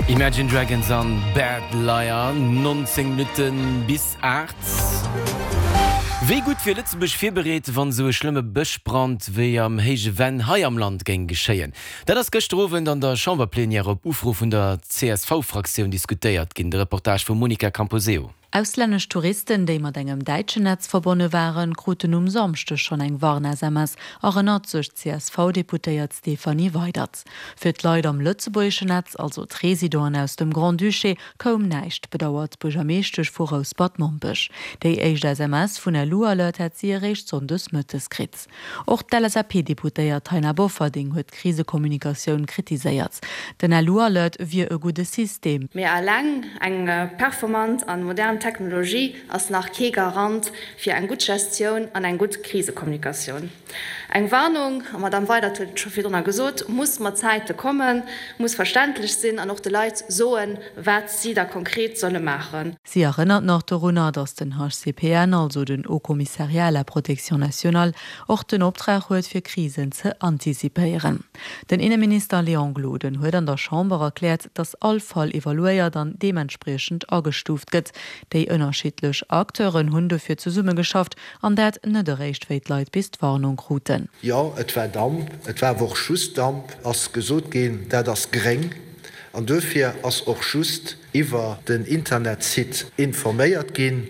Imagine Dragons an Bad Liar, 19 Minutte bis 8. Wéi gutt wier Lëtzebuerg virbereet, wann esou e schlëmme Bëschbrand wéi am Héije Venn hei am Land géing geschéien? Dat ass gëschter Owend an der Chamberplenière op Ufro vun der CSV-Fraktioun diskutéiert ginn. De Reportage vum Monica Camposeo. Auslännesch Touristen, déi mat engem däitschen Netz verbonne waren, kruten um Samschdeg schonn eng Warn-SMS, erënnert sech d'CSV-Deputéiert Stéphanie Weydert. Fir d'Leit am lëtzebuergeschen Netz, also d'Residenten aus dem Grand-Duché, koum näischt, bedauert d'Buergermeeschtesch vu Rouspert-Mompech. Déi éischt SMS vun LU-Alert hätt si eréischt sonndes mëttes kritt. Och d'LSAP-Deputéiert Taina Bofferding huet d'Krisekommunikatioun kritiséiert. Den LU-Alert wier e gudde System. Mee eleng eng performant an modern Technologie ass nach kee Garant fir eng gutt Gestioun an eng gutt Krisekommunikatioun. Eng Warnung, an d'Madame Weydert huet et scho virdrunner gesot, muss mat Zäite kommen, muss verständlech sinn an och de Leit soen, wat si da konkret solle maachen. Si erënnert nach dorunner, datt den HCPN, also den Haut Commissariat à la protection nationale, och den Optrag huet, fir Krisen ze antizipéieren. Den Inneminister Léon Gloden huet an der Chamber erkläert, datt all Fall evaluéiert an deementspriechend agestuuft gëtt. Déi ënnerschiddlech Acteuren hunn dofir zesummegeschafft, an dat net eréischt wéi d'Leit bis d'Warnung kruten. Jo, et war Damp, et war awer och just Damp, ass gesot ginn. Dat ass gréng an duerfir ass och just iwwer den Internetsite informéiert ginn.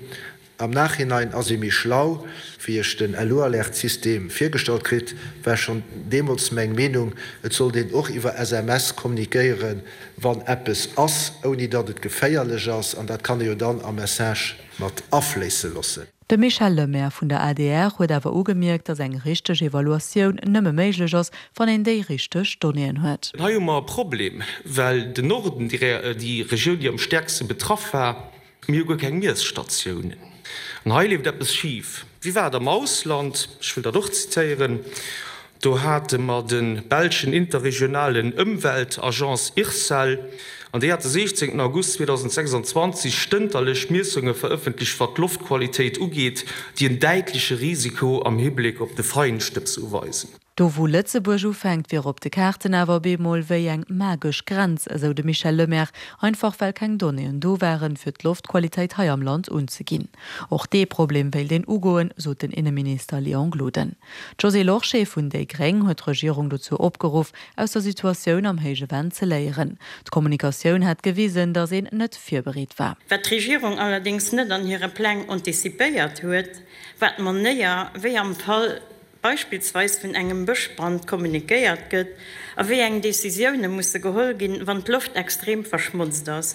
Am Nachhinein ass ee méi schlau. Wéi ech den LU-Alert-System virgestallt kritt, war schonn deemools meng Meenung, et sollt een och iwwer SMS kommunikéieren, wann eppes ass, ouni datt et geféierlech ass. An dat kann ee jo dann am Message mat afléisse loossen. De Michel Lemaire vun der adr huet awer ugemierkt, datt eng richteg Evaluatioun nëmme méiglech ass, wann een déi richteg Donnéeën huet. Hei hu mer e Problem, well den Norden, déi Regioun, déi am stäerkste betraff war, mir hu guer keng Miesstatiounen. An hei leeft eppes schif. Wéi war et am Ausland? Ech wëll dat och zitéieren. Do hate mer de belschen interregionalen Ëmweltagence IRSEL, an déi hat de 16 August 2026 stënterlech Miessunge verëffentlecht, wat d'Loftqualitéit ugeet, déi en däitleche Risiko am Hibléck op de Feinstëbs uweisen. Do wou Lëtzebuerg ufänkt, wier op de Kaarten awer op eemol wéi eng magesch Grenz, esou de Michel Lemaire, einfach well keng Donnéeën do waren, fir d'Loftqualitéit hei am Land unzeginn. Och dee Problem wéilt een ugoen, sot den Inneminister Léon Gloden. D'Josée Lorsché vun déi gréng huet d'Regierung dozou opgeruff, aus der Situatioun am Héije Venn ze léieren. D'Kommunikatioun hätt gewisen, datt een net virbereet war. Wat d'Regierung allerdéngs net an hire Pläng antizipéiert huet, war d'Manéier, wéi am Fall beispillsweis vun engem Bëschbrand kommunikéiert gëtt a wéi eng Decisioune musse geholl ginn, wann d'Loft extrem verschmotzt ass.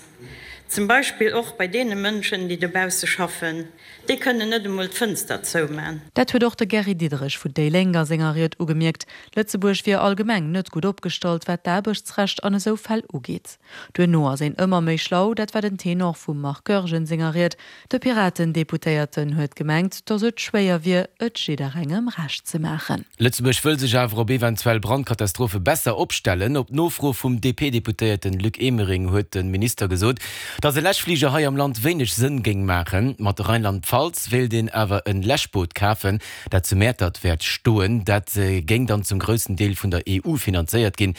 Zum Beispill och bei deene Mënschen, déi dobausse schaffen. Déi kënnen net emol d'Fënster zouman. Dat huet och de Gary Diderich vun déi Lénk a senger Ried ugemierkt. Lëtzebuerg wier allgemeng net gutt opgestallt, wat d'Aarbechtsrecht an esou Fäll ugeet. Duerno ass een ëmmer méi schlau, dat war den Tenor vum Marc Goergen senger Ried. De Piraten-Deputéierten huet gemengt, datt et schwéier wier, et jidderengem Recht ze maachen. Lëtzebuerg wëll sech awer op eventuell Brandkatastrophe besser opstellen. Op Nofro vum DP-Deputéierten Luc Emering huet de Minister gesot, datt e Läschfliger hei am Land wéineg Sënn géing maachen. Mat Rheinland-Pfalz wéilt een awer e Läschboot kafen, dat zu Mäertert wäert stoen. Dat géing dann zum groussen Deel vun der EU finanzéiert ginn.